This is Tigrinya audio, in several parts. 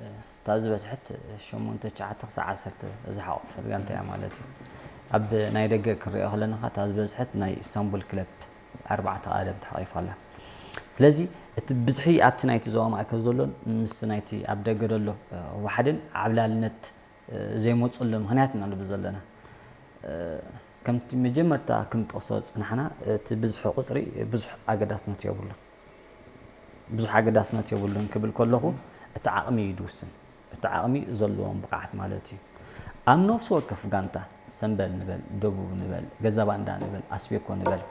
እታ ዝበዝሐት ሸሞንተ ትሽዓተ ክሳብ ዓሰርተ ዝሓቆፈት ጋንታ እያ ማለት እዩ። ኣብ ናይ ደገ ክንሪኦ ከለና ከኣ እታ ዝበዝሐት ናይ ኢስታንቡል ክለብ ኣርባዕተ ቀዳደም ተሓቒፋ ኣላ። ስለዚ እቲ ብዝሒ ኣብቲ ናይቲ ዞባ ማእከል ዘሎን ምስ ናይቲ ኣብ ደገ ዘሎ ዋሕድን ዓብላልነት ዘይመፅሉ ምኽንያት ኢና ንብል ዘለና። ከምቲ መጀመርታ ክንጠቕሶ ዝፅናሕና እቲ ብዝሒ ቁፅሪ ብዙሕ ኣገዳስነት የብሉን። ብዙሕ ኣገዳስነት የብሉን ክብል ከለኹ እቲ ዓቕሚ እዩ ዝውስን። እቲ ዓቕሚ ዘለዎም ብቕዓት ማለት እዩ። ኣብ ነፍሲ ወከፍ ጋንታ ሰምበል ንበል፣ ደቡብ ንበል፣ ገዛባንዳ ንበል፣ ኣስቤኮ ንበል፣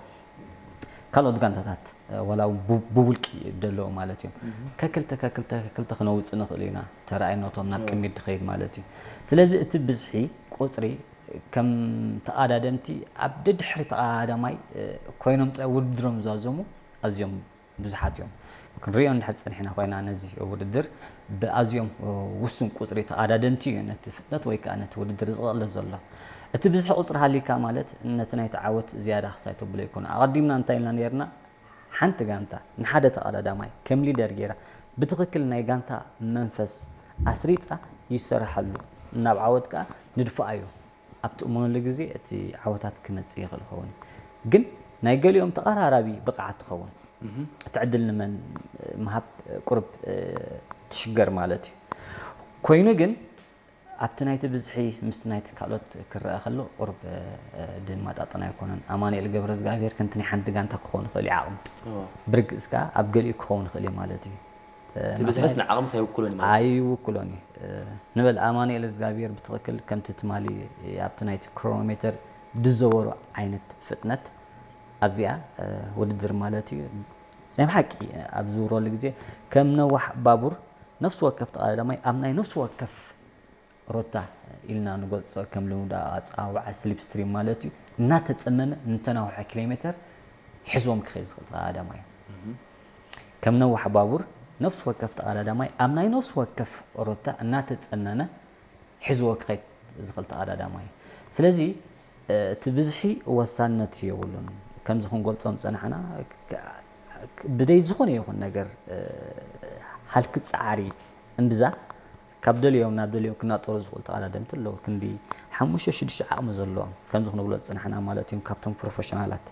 ካልኦት ጋንታታት ወላ እውን ቡ- ብውልቂ ደለዉ ማለት እዮም። ከክልተ ከክልተ ከክልተ ክነውፅእ ንኽእል ኢና፣ ተረኣይነቶም ናብ ቅድሚት ድኸይድ ማለት እዩ። ስለዚ እቲ ብዝሒ ቁፅሪ ከም ተቓዳደምቲ ኣብ ደድሕሪ ተቓዳማይ ኮይኖም ጥራይ ውድድሮም ዝዛዘሙ ኣዝዮም ብዙሓት እዮም። ክንሪኦ እንድሕር ፀኒሕና ኮይና ነዚ ውድድር ብኣዝዮም ውሱን ቁፅሪ ተቓዳደምቲ እዩ ነቲ ፍጥነት ወይ ከዓ ነቲ ውድድር ዝቐለ ዘሎ። እቲ ብዝሒ ቁፅሪ ሃሊካ ማለት ነቲ ናይቲ ዓወት ዝያዳ ክሳይ ተብሎ ይኮኑ። ኣቐዲምና እንታይ ኢልና ነርና? ሓንቲ ጋንታ ንሓደ ተቐዳዳማይ ከም ሊደር ገይራ ብትኽክል ናይ ጋንታ መንፈስ ኣስሪፃ ይሰራሓሉ፣ ናብ ዓወት ከዓ ንድፍኣ እዩ። ኣብ ትእመነሉ ግዜ እቲ ዓወታት ክመፅእ ይኽእል ይኸውን። ግን ናይ ገሊኦም ተቐራራቢ ብቕዓት ትኸውን። እቲ ዕድል ንመን ምሃብ ቁርብ ትሽገር ማለት እዩ። ኮይኑ ግን ኣብቲ ናይቲ ብዝሒ ምስቲ ናይቲ ካልኦት ክረኣ ከሎ ቁርብ ድማጣጠን ኣይኮነን። ኣማኑኤል ገብረ እግዚኣብሔር ከምቲ ናይ ሓንቲ ጋንታ ክኸውን ይኽእል እዩ ዓቕሙ። ብርግጽ ከዓ ኣብ ገሊኡ ክኸውን ይኽእል እዩ ማለት እዩ። እቲ ብዝሕስ ንዓቕምስ ኣይውክሎን እዩ ማለት እዩ። ኣይውክሎን እዩ። ንበል ኣማኑኤል እግዚኣብሔር ብትኽክል ከምቲ ትማሊ ኣብቲ ናይቲ ክሮኖሜተር ድዘወሮ ዓይነት ፍጥነት ኣብዚኣ ውድድር ማለት እዩ። ናይ ብሓቂ ኣብ ዝውረሉ ግዜ ከም ነዋሕ ባቡር ነፍሲ ወከፍ ተቐዳዳማይ ኣብ ናይ ነፍሲ ወከፍ ሮታ ኢልና ንገልጾ ከም ልሙድ ኣጸዋውዓ ስሊፕ ስትሪም ማለት እዩ። እናተጸመመ ንተናውሐ ኪሎ ሜተር ሒዝዎም ክኸይድ ዝኽእል ተቐዳዳማይ እዩ። ከም ነዋሕ ባቡር ነፍሲ ወከፍ ተቐዳዳማይ ኣብ ናይ ነፍሲ ወከፍ ሮታ እናተጸመመ ሒዝዎ ክኸይድ ዝኽእል ተቐዳዳማይ እዩ። ስለዚ እቲ ብዝሒ ወሳንነት የብሉን። ከምዚ ክንገልጾም ጸናሕና ብደይ ዝኾነ ይኹን ነገር ሃልኪ ጻዕሪ እምብዛ ካብ ደልዮም ናብ ደልዮም ክናጠሩ ዝኽእሉ ተቐዳደምቲ ኣለዉ። ክንዲ ሓሙሽተ ሽዱሽተ ዓቕሚ ዘለዎም ከምዚ ክንብሎ ዝጸናሕና ማለት እዮም ካብቶም ፕሮፌሽናላት።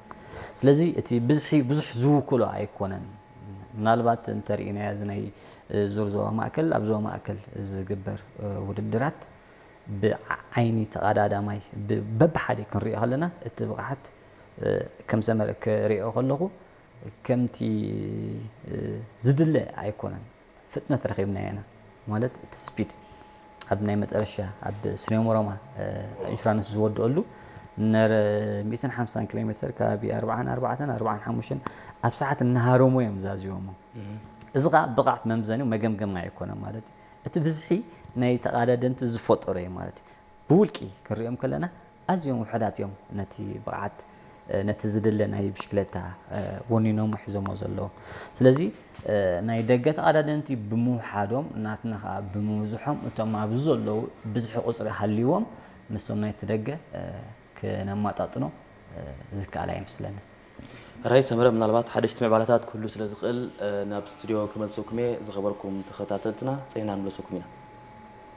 ስለዚ እቲ ብዝሒ ብዙሕ ዝውክሎ ኣይኮነን። ምናልባት እንተርኢናዮ እዚ ናይ ዙር ዞባ ማእከል ኣብ ዞባ ማእከል ዝግበር ውድድራት ብዓይኒ ተቐዳዳማይ በብሓደ ክንሪኦ ከለና እቲ ብቕዓት ከም ሰመረ ክሪኦ ከለኹ ከምቲ ዝድለ ኣይኮነን። ፍጥነት ረኺብናዮ ኢና ማለት እቲ ስፒድ ኣብ ናይ መጠረሻ ኣብ ስኒዮሞ ሮማ ኢንሹራንስ ዝወድአሉ ነረ ሚእትን ሓምሳን ኪሎ ሜትር ከባቢ ኣርባዓን ኣርባዕተን ኣርባዓን ሓሙሽተን ኣብ ሰዓት እናሃረሙ እዮም ዛዝዮሞ። እዚ ከዓ ብቕዓት መምዘኒ መገምገሚ ኣይኮነን ማለት እዩ። እቲ ብዝሒ ናይ ተቓዳደምቲ ዝፈጠሮ እዩ ማለት እዩ። ብውልቂ ክንሪኦም ከለና ኣዝዮም ውሑዳት እዮም ነቲ ብቕዓት ነቲ ዝድለ ናይ ብሽክለታ ወኒኖሞ ሒዞሞ ዘለዉ። ስለዚ ናይ ደገ ተቐዳደምቲ ብምውሓዶም ናትና ከዓ ብምብዝሖም እቶም ኣብዚ ዘለዉ ብዝሒ ቁፅሪ ሃልይዎም ምስቶም ናይቲ ደገ ክነማጣጥኖ ዝከኣል ኣይመስለንን። ራይ ሰመረ፣ ምናልባት ሓደሽቲ ምዕባለታት ክህሉ ስለ ዝኽእል ናብ ስቱድዮ ክመልሰኩም እየ። ዝኸበርኩም ተኸታተልትና ፀኒሕና ንመለሰኩም ኢና።